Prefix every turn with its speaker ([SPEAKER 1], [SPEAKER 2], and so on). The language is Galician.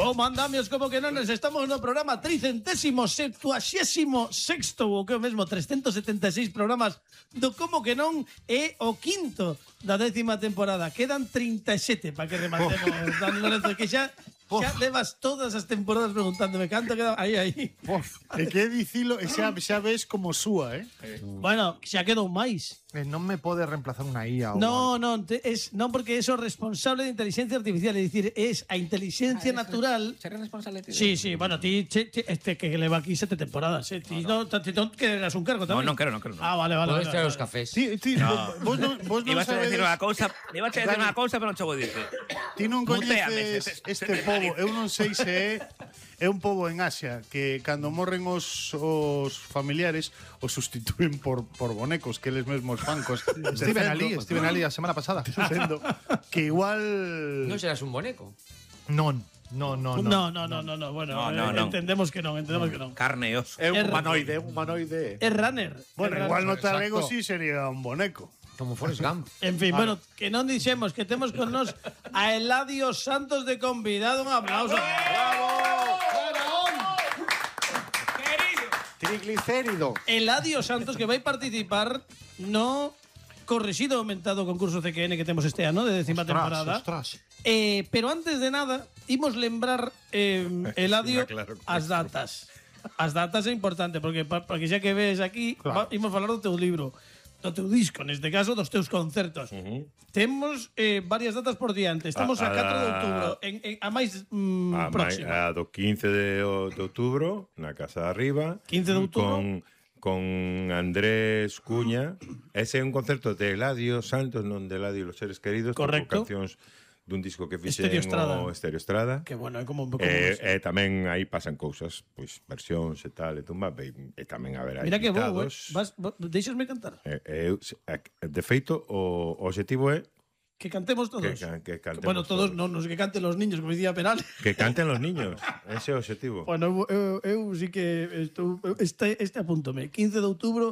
[SPEAKER 1] Como andamios, como que non, estamos no programa 376º, ou que o mesmo 376 programas do Como que non é o quinto da 10ª temporada. Quedan 37 para que rematemos, Dani Lorenzo, que xa levas todas as temporadas preguntándome canto queda aí.
[SPEAKER 2] É que dicilo e xa ves como súa,
[SPEAKER 1] Bueno, xa quedou máis.
[SPEAKER 3] Non me pode reemplazar unha IA.
[SPEAKER 1] Non, porque é o responsable de inteligencia artificial, é dicir, es a inteligencia natural.
[SPEAKER 4] Ser responsable ti.
[SPEAKER 1] Sí, bueno, ti que leva aquí 7 temporadas, ti non quereras un cargo tamén.
[SPEAKER 4] Non quero.
[SPEAKER 1] Ah, vale.
[SPEAKER 5] Podes traer os cafés.
[SPEAKER 2] Vos non
[SPEAKER 4] Ibas a decir
[SPEAKER 2] sabedes.
[SPEAKER 4] unha cousa, pero non che vou dicir.
[SPEAKER 2] Ti non
[SPEAKER 4] Muteame,
[SPEAKER 2] coñeces este pobo. Eu non sei se é un pobo en Asia que cando morren os familiares os sustituen por bonecos que eles mesmos fancos.
[SPEAKER 3] Estiven ali a semana pasada.
[SPEAKER 2] Dicendo que igual
[SPEAKER 5] Non serás un boneco.
[SPEAKER 3] Non.
[SPEAKER 1] No. Bueno,
[SPEAKER 4] No.
[SPEAKER 1] entendemos que non.
[SPEAKER 4] Carne e oso.
[SPEAKER 6] É un humanoide.
[SPEAKER 1] É runner.
[SPEAKER 2] Bueno, igual no talego sí sería un boneco.
[SPEAKER 5] Como Forrest Gump.
[SPEAKER 1] En fin, bueno, que non dixemos que temos con nos a Eladio Santos de convidado. Un aplauso.
[SPEAKER 6] Triglicérido.
[SPEAKER 1] Eladio Santos, que vai participar no correxido aumentado concurso CQN que temos este ano de 10ª temporada.
[SPEAKER 3] Ostras.
[SPEAKER 1] Pero antes de nada, imos lembrar, Eladio,
[SPEAKER 6] claro que
[SPEAKER 1] as datas. As datas é importante, porque xa que ves aquí, imos falar do teu libro, do teu disco, neste caso, dos teus concertos. Temos varias datas por diante. Estamos a 4 de outubro, a máis próxima.
[SPEAKER 7] A do 15 de outubro, na Casa de Arriba.
[SPEAKER 1] 15 de outubro.
[SPEAKER 7] Con Andrés Cuña. Ese é un concerto de Eladio Santos, non de Eladio e los seres queridos.
[SPEAKER 1] Correcto.
[SPEAKER 7] Con cancións dun disco que fixen
[SPEAKER 1] Estéreo
[SPEAKER 7] Estrada.
[SPEAKER 1] Que bueno, é como un pouco
[SPEAKER 7] tamén aí pasan cousas, pois versións e tal, e tumba, e tamén haberá
[SPEAKER 1] Mira que bo,
[SPEAKER 7] invitados.
[SPEAKER 1] deixasme cantar.
[SPEAKER 7] De feito, o objetivo é
[SPEAKER 1] Que cantemos todos.
[SPEAKER 7] que cantemos
[SPEAKER 1] Bueno, todos non, que canten los niños, como dicía Perales.
[SPEAKER 7] que canten los niños. Ese é o objetivo.
[SPEAKER 1] Bueno, eu sí que estou, este apúntome. 15 de outubro